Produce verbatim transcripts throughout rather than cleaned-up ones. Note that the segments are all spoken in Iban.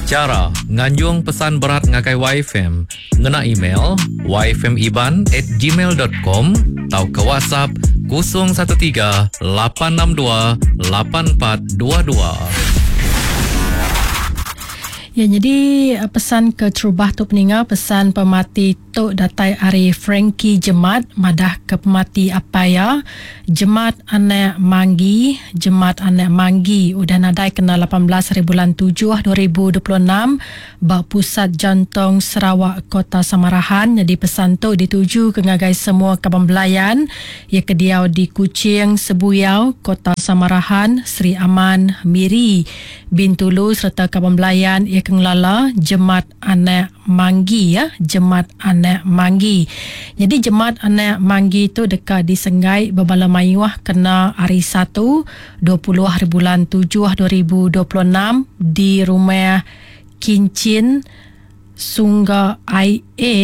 Chara nganjung pesan berat ngagai Y F M ngena email y f m iban at gmail dot com atau ke WhatsApp kosong satu tiga lapan enam dua lapan empat dua dua. Ya, jadi pesan ke terubah tu peninga, pesan pemati tu datai ari Frankie Jemat madah ke pemati apa ya Jemat anak Manggi. Jemat anak Manggi udah nadai kena lapan belas hari bulan tujuh dua ribu dua puluh enam ba Pusat Jantung Sarawak Kota Samarahan. Jadi pesan tu dituju ke ngagai semua kaban belayan ia ke diau di Kuching, Sebuyau, Kota Samarahan, Sri Aman, Miri, Bintulu serta kaban belayan ia ke ngelala Jemat anak Manggi ya, Jemat anak Manggi. Jadi Jemat anak Manggi tu dekat di Senggai berbala mayuh kena hari Satu dua puluh hari bulan tujuh dua ribu dua puluh enam di rumah Kincin Sungga I A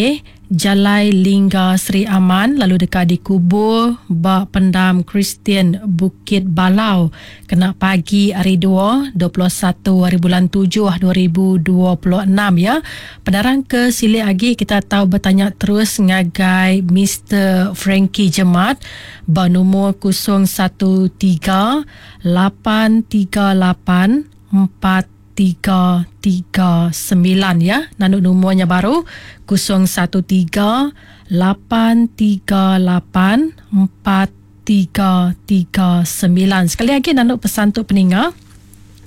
Jalai Lingga Sri Aman, lalu dekat dikubur ba Pendam Kristian Bukit Balau kena pagi hari dua, dua puluh satu hari bulan tujuh dua ribu dua puluh enam ya. Penerang ke silik lagi kita tahu bertanya terus ngagai Mister Frankie Jemat ba nombor kosong satu tiga lapan tiga lapan empat tiga tiga sembilan ya. Nanduk nomornya baru kosong satu tiga lapan tiga lapan empat tiga tiga sembilan. Sekali lagi nanduk pesan tu peninga.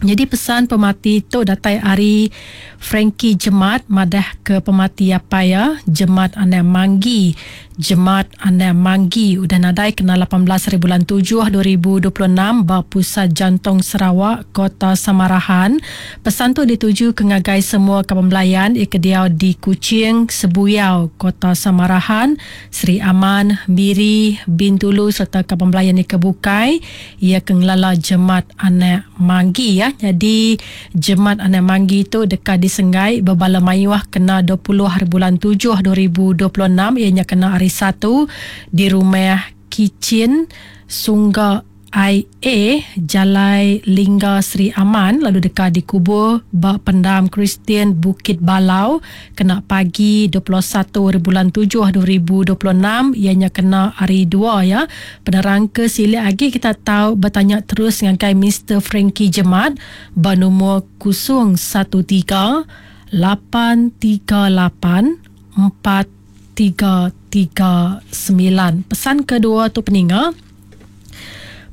Jadi pesan pemati tu datai ari Frankie Jemat madah ke pemati apa ya Jemat anak Manggi. Jemat anak Manggi udah nadai kena lapan belas hari bulan tujuh dua ribu dua puluh enam ba Pusat Jantung Sarawak Kota Samarahan. Pesan tu dituju ke ngagai semua kaban belayan ia ke diau di Kuching, Sebuyau, Kota Samarahan, Sri Aman, Miri, Bintulu serta kaban belayan ia ke bukai ia ke ngelala Jemat anak Manggi ya. Jadi Jemat anak Manggi tu dekat di Senggai berbala mayuh kena dua puluh hari bulan tujuh dua ribu dua puluh enam, ianya kena hari Satu di rumah Kicin Sungga I A Jalai Lingga Sri Aman, lalu dekat dikubur ba Pendam Kristian Bukit Balau kena pagi dua puluh satu hari bulan tujuh dua ribu dua puluh enam, ianya kena hari dua ya. Penerang ke silik lagi kita tahu bertanya terus ngagai Mister Frankie Jemat ba nombor kosong satu tiga lapan tiga lapan empat tiga tiga sembilan. Pesan kedua tu peninga,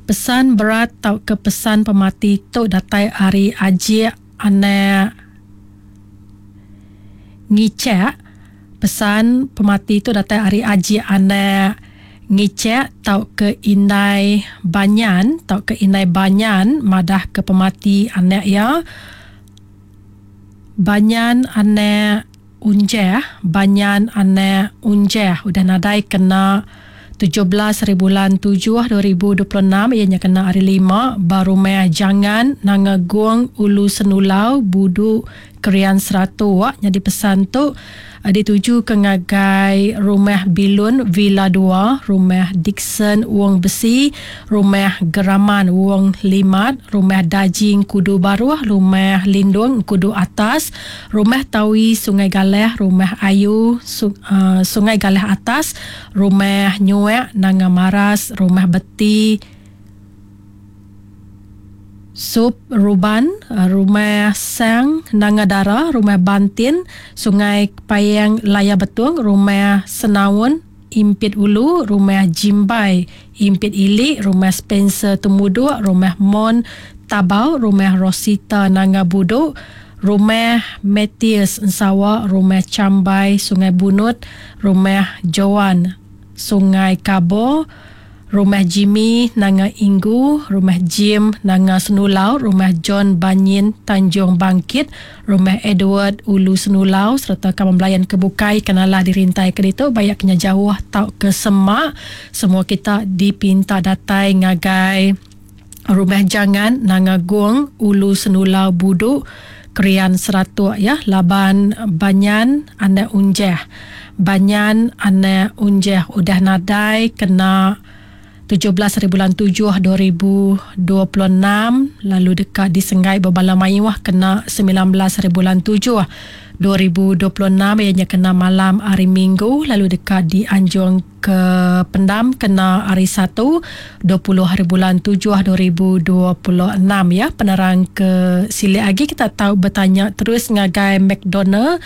pesan berat tau ke pesan pemati tu datai ari Ajik anak Ngicek. Pesan pemati tu datai ari Ajik anak Ngicek tau ke Indai Banyan, tau ke Indai Banyan madah ke pemati anak ya Banyan anak Unjeh, Banyan anak Unjeh udah nadai kena tujuh belas hari bulan tujuh dua ribu dua puluh enam, ianya kena hari lima ba rumah Jangan Nanga Guang Ulu Senulau Budu Kerian Seratuk. Jadi pesan tu dituju ke ngagai rumah Bilun Villa dua, rumah Dixon Wong Besi, rumah Geraman Wong Limat, rumah Dajing Kudu Baruh, rumah Lindung Kudu Atas, rumah Tawi Sungai Galeh, rumah Ayu uh, Sungai Galeh Atas, rumah Nyuek Nanga Maras, rumah Beti Sup Ruban, rumah Sang Nanga Dara, rumah Bantin Sungai Payang Laya Betung, rumah Senaun Impit Ulu, rumah Jimbai Impit Ili, rumah Spencer Temuduk, rumah Mon Tabau, rumah Rosita Nanga Buduk, rumah Matthias Ensawa, rumah Cambai Sungai Bunut, rumah Joan Sungai Kabo, rumah Jimmy Nanga Inggu, rumah Jim Nanga Senulau, rumah John Banyin Tanjung Bangkit, rumah Edward Ulu Senulau serta kawan belayan kebukai kenalah dirintai ke ditu banyak kena jauh tau ke semak. Semua kita dipinta datai ngagai rumah Jangan Nanga Guang Ulu Senulau Buduk Kerian Seratuk ya, Laban Banyan anak Unjeh. Banyan anak Unjeh udah nadai kena tujuh belas hari bulan tujuh dua ribu dua puluh enam lalu dekat di Senggai Bebala Mayuh kena sembilan belas hari bulan tujuh dua ribu dua puluh enam ianya kena malam hari Minggu lalu dekat di Anjung ke Pendam kena hari Satu dua puluh hari bulan tujuh dua ribu dua puluh enam ya. Penerang ke silik lagi kita tahu bertanya terus ngagai McDonald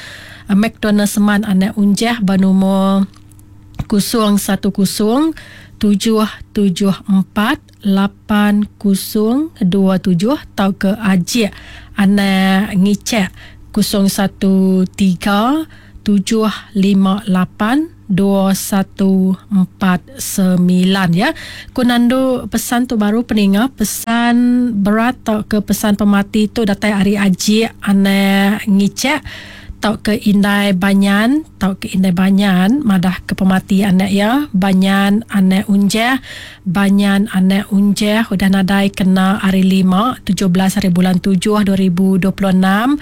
McDonald Seman anak Unjah bernomor kosong satu kosong tujuh tujuh empat lapan kosong dua tujuh atau ke Ajik anak Ngicek kosong satu tiga tujuh lima lapan dua satu empat sembilan ya. Ku nandu pesan tu baru peninga pesan berat atau ke pesan pemati tu datai ari Ajik anak Ngicek tau ke Indai Banyan tau ke Indai Banyan madah ke pemati anak ya Banyan anak Unjeh Banyan anak Unjeh udah nadai kena hari lima tujuh belas hari bulan tujuh dua ribu dua puluh enam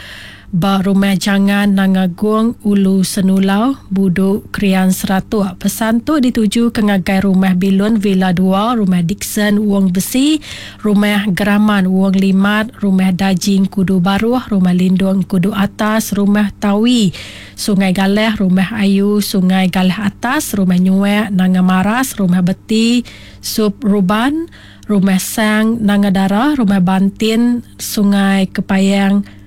ba rumah Jangan Nangagung Ulu Senulau Buduk Krian Seratuk. Pesan tu dituju ke ngagai rumah Bilun Villa dua, rumah Dixon Wong Besi, rumah Geraman Wong Limat, rumah Dajing Kudu Baruh, rumah Lindung Kudu Atas, rumah Tawi Sungai Galeh, rumah Ayu Sungai Galeh Atas, rumah Nyuek Nanga Maras, rumah Beti Sup Ruban, rumah Sang Nanga Dara, rumah Bantin Sungai Kepayang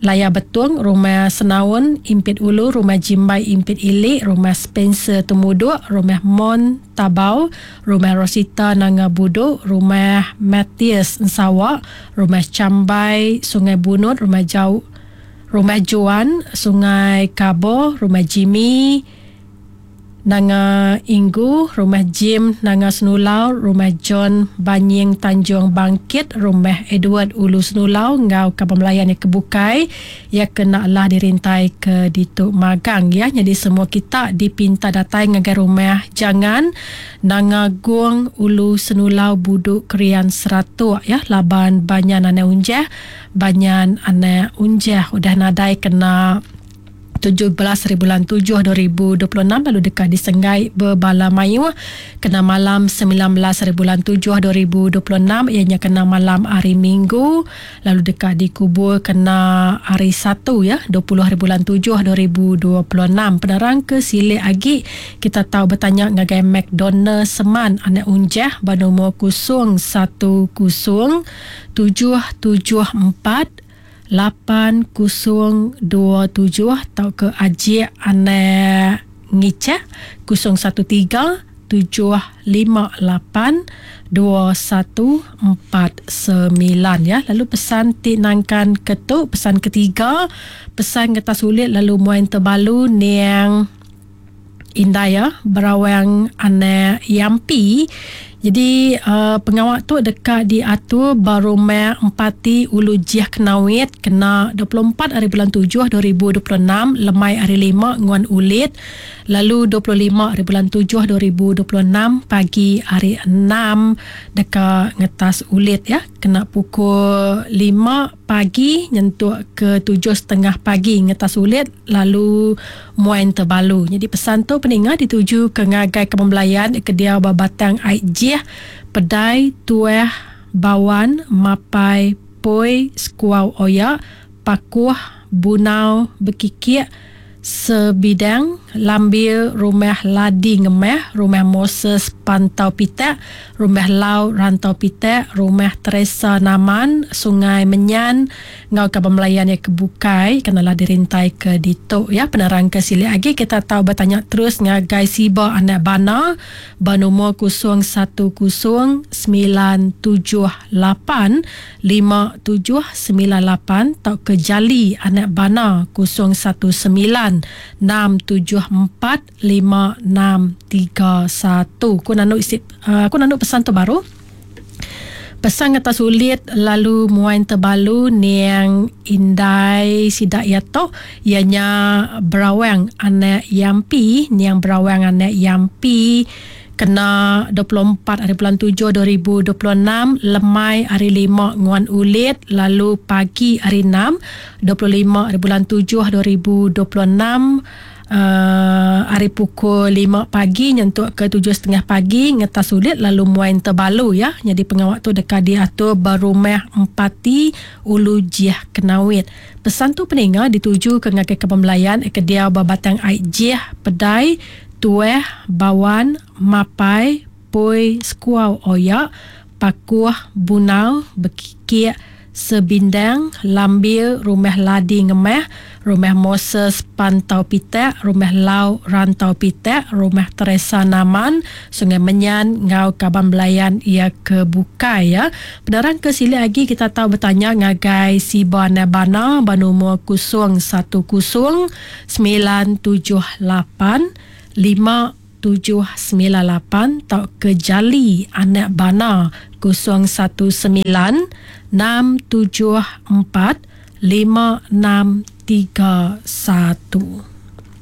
Layar Betung, rumah Senaun Impit Ulu, rumah Jimbai Impit Ilik, rumah Spencer Temuduk, rumah Mon Tabau, rumah Rosita Nanga Buduk, rumah Matthias Ensawak, rumah Cambai Sungai Bunut, rumah Jauh, rumah Juan Sungai Kabo, rumah Jimmy Nanga Inggu, rumah Jim Nanga Senulau, rumah John Banying Tanjung Bangkit, rumah Edward Ulu Senulau ngau kapal melayan yang kebukai ya kena lah dirintai ke Dituk Magang ya. Jadi semua kita dipinta datang ngagai rumah Jangan Nanga Guang Ulu Senulau Buduk Krian Seratuk ya. Laban Banyan anak Unjah Banyan anak Unjah udah nadai kena tujuh belas hari bulan tujuh dua ribu dua puluh enam lalu dekat di Senggai Bebala Mayuh kena malam sembilan belas hari bulan tujuh dua ribu dua puluh enam ianya kena malam hari Minggu lalu dekat dikubur kena hari Satu ya dua puluh hari bulan tujuh dua ribu dua puluh enam. Penerang ke silik agi kita tahu bertanya ngagai McDonald Seman anak Unjah bernomor kosong satu kosong tujuh tujuh empat lapan kosong dua tujuh atau ke Ajik anak Ngicah kosong satu tiga tujuh lima lapan dua satu empat sembilan ya. Lalu pesan ti nangkan ketuk pesan ketiga pesan getah sulit lalu muain terbalu niang Indaya Berawang anak Yampi. Jadi uh, pengawak tu dekat diatur Barumah Empati Ulu Jiah Kenawit kena dua puluh empat hari bulan tujuh dua ribu dua puluh enam lemai hari lima nguan ulit lalu dua puluh lima hari bulan tujuh dua ribu dua puluh enam pagi hari enam dekat ngetas ulit ya kena pukul lima pagi nyentuk ke tujuh setengah pagi ngetas ulit lalu muain terbalu. Jadi pesan tu peninga dituju ke ngagai kepembelayan ke dia Batang Aik Jih Pedai Tueh Bawan Mapai Poi Skuau Oya Pakuh Bunau Bekikik Sebidang Lambir Rumah Ladi Ngemeh Rumah Moses Pantau Pitak Rumah Lau Rantau Pitak Rumah Teresa Naman Sungai Menyan ngau ke pemelayan yang kebukai kenalah dirintai ke Dituk ya. Penerang ke silik lagi kita tahu bertanya terus ngagai Siba anak Bana bernomor kosong satu kosong sembilan tujuh lapan lima tujuh sembilan lapan atau ke Jali anak Bana kosong satu sembilan enam tujuh empat lima enam tiga satu. Ku nanuk isi uh, aku nanuk pesan tu baru. Pesan kata sulit lalu muain terbalu niang Indai sidak yato ianya Berawang anak Yampi niang Berawang anak Yampi kena dua puluh empat hari bulan tujuh dua ribu dua puluh enam lemai hari lima nguan ulit lalu pagi hari enam dua puluh lima hari bulan tujuh dua ribu dua puluh enam Uh, hari pukul lima pagi nyentuk ke tujuh setengah pagi ngetas sulit lalu muai terbalu ya. Jadi pengawak tu dekat diatur berumah empati Ulu Jih Kenawit. Pesan tu peninga dituju ke ngagai ke pembelayan ke dia berbatang air Jih, Pedai, Tueh, Bawan, Mapai, Poi, Skuau, Oyak, Pakuh, Bunau, Bekikik, Sebindang, Lambir, Rumah Ladi Ngemah, Rumah Moses Pantau Pitak, Rumah Lau Rantau Pitak, Rumah Teresa Naman, Sungai Menyan, Ngau Kaban Belayan ia ke Bukai ya. Penerang ke sili lagi kita tahu bertanya ngagai Siba Nabana banumur kosong satu kosong sembilan tujuh lapan lima tujuh sembilan lapan atau ke Jali Anak Bana kosong satu sembilan enam tujuh empat lima enam tiga satu.